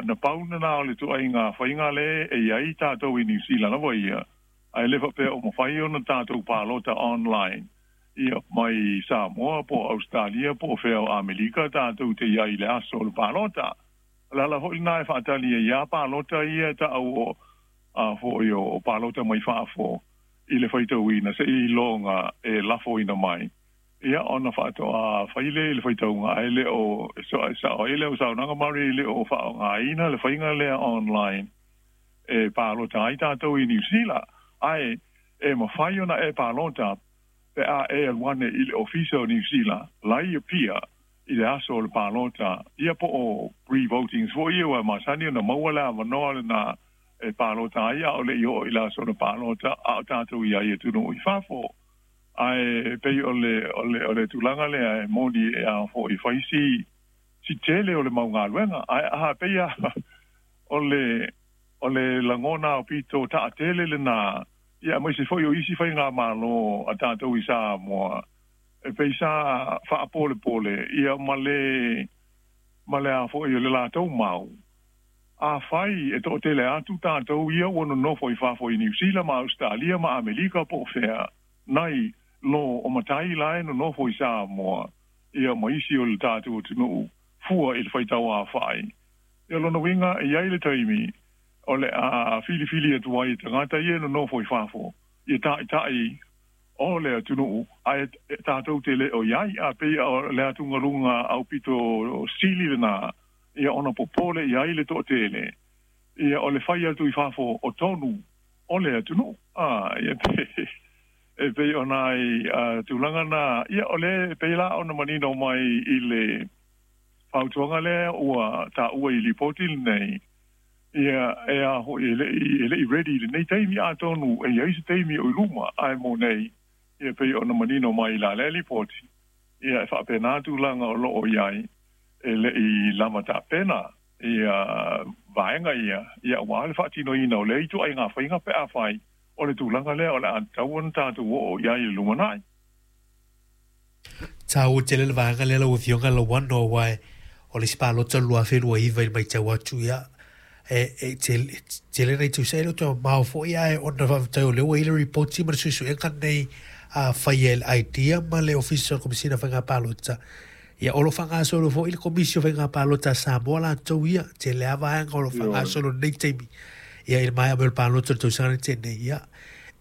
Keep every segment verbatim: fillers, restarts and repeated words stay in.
Na pau lena o le ituaiga faiga lea e i ai tatou i Niu Sila lava ia, ae le faapea o mafai ona tatou palota online ia mai Samoa po o Ausetalia po o fea o Amerika tatou te i ai i le aso o le palota. O le ala foi lena e faatali ai lava palota ia e taʻu o a foi o palota mai fafo i le faitauina seiloga e lafoina mai ia ona faatoa fai lea i le faitauga, ae le o sao ai lea o saunoaga Murray, e le o faaaogaina le faiga lea online e palota ai tatou i Niu Sila, ae e mafai ona e palota pe a e alu ane i le ofisa o Niu Sila la i Apia i le aso o le palota ia, po o pre-votings foi ia ua masani ona maua le avanoa lena e palota ai a o le i oo i le aso o le palota a o tatou i ai atunuu i fafo. Ae pei o le o le o le tulaga lea e moni e a foi fai si si tele o le mau galuega, ae a pei a o le o le lagona o pito taatele lena ia, aemaise foi o isi faigamalo a tatou i Samoa e pei sa faapolepole ia ma le ma le a foi o le latou mau. Afai e toatele atu tatou ia ua nonofo i fafo i Niu Sila ma Ausetalia ma Amerika po o fea, nai lo o matai la e nonofo i Samoa ia ma isi o le tatou atunuu fua i le faitauaofai ia, lona uiga e i ai le taimi o le a filifili atu ai tagata ia e nonofo i fafo ia taitai o le atunuu, ae tatou te le o i ai. A pei o le atugaluga aupito sili lena ia ona popole i ai le toatele ia o le fai atu i fafo o tonu o le atunuu a ia pe e pei ona ai tulaga na ia o le pei la ona manino mai i le fautuaga lea ua taua i lipoti lenei ia e a foi e leʻi e leʻi ready lenei taimi, atonu e i ai se taimi o i luma, ae mo nei ia pei ona manino mai la lea lipoti ia e faapena tulaga o loo i ai, e leʻi lava tapena ia vaega ia ia ua le faatinoina o lea ituaiga faiga pe afai o le tulaga lea o le a tatau ona tatou oo i ai i le lumanai. Taua tele le vaega lea, lau Afioga Lauano, aua o le isi palota lua afe lua iva i le matau atu ia e e tele tele nai tausaga e le o toe mamao foi, ae ona faafetai o lea ua i le ripoti ma le suesuega nei a faia e le IDEA ma le Ofisa o le Komesina o Faiga Palota. Ia o lo o faagasolo foi le Komisi o Faiga Palota a Samoa latou ia, tele lava vaega o lo o faagasolo i lenei taimi ia i le maea mai o le palota o le tausaga nei tea nei. Ia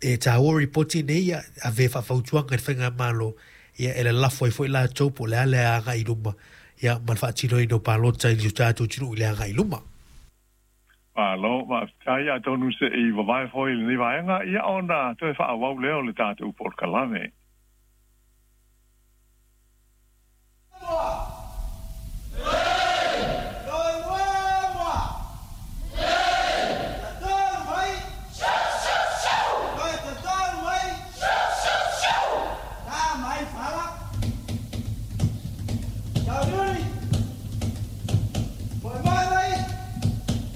e taua ripoti nei ia ave faafautuaga i le faigamalo ia e lalafo ai foi latou po o le a le agai i luma ia ma le faatinoina o palota i le tatou atunuu i le agai i luma. Malo, faafetai. Atonu se i vavae foi i lenei vaega ia ona toe faaauau lea o le tatou polokalame.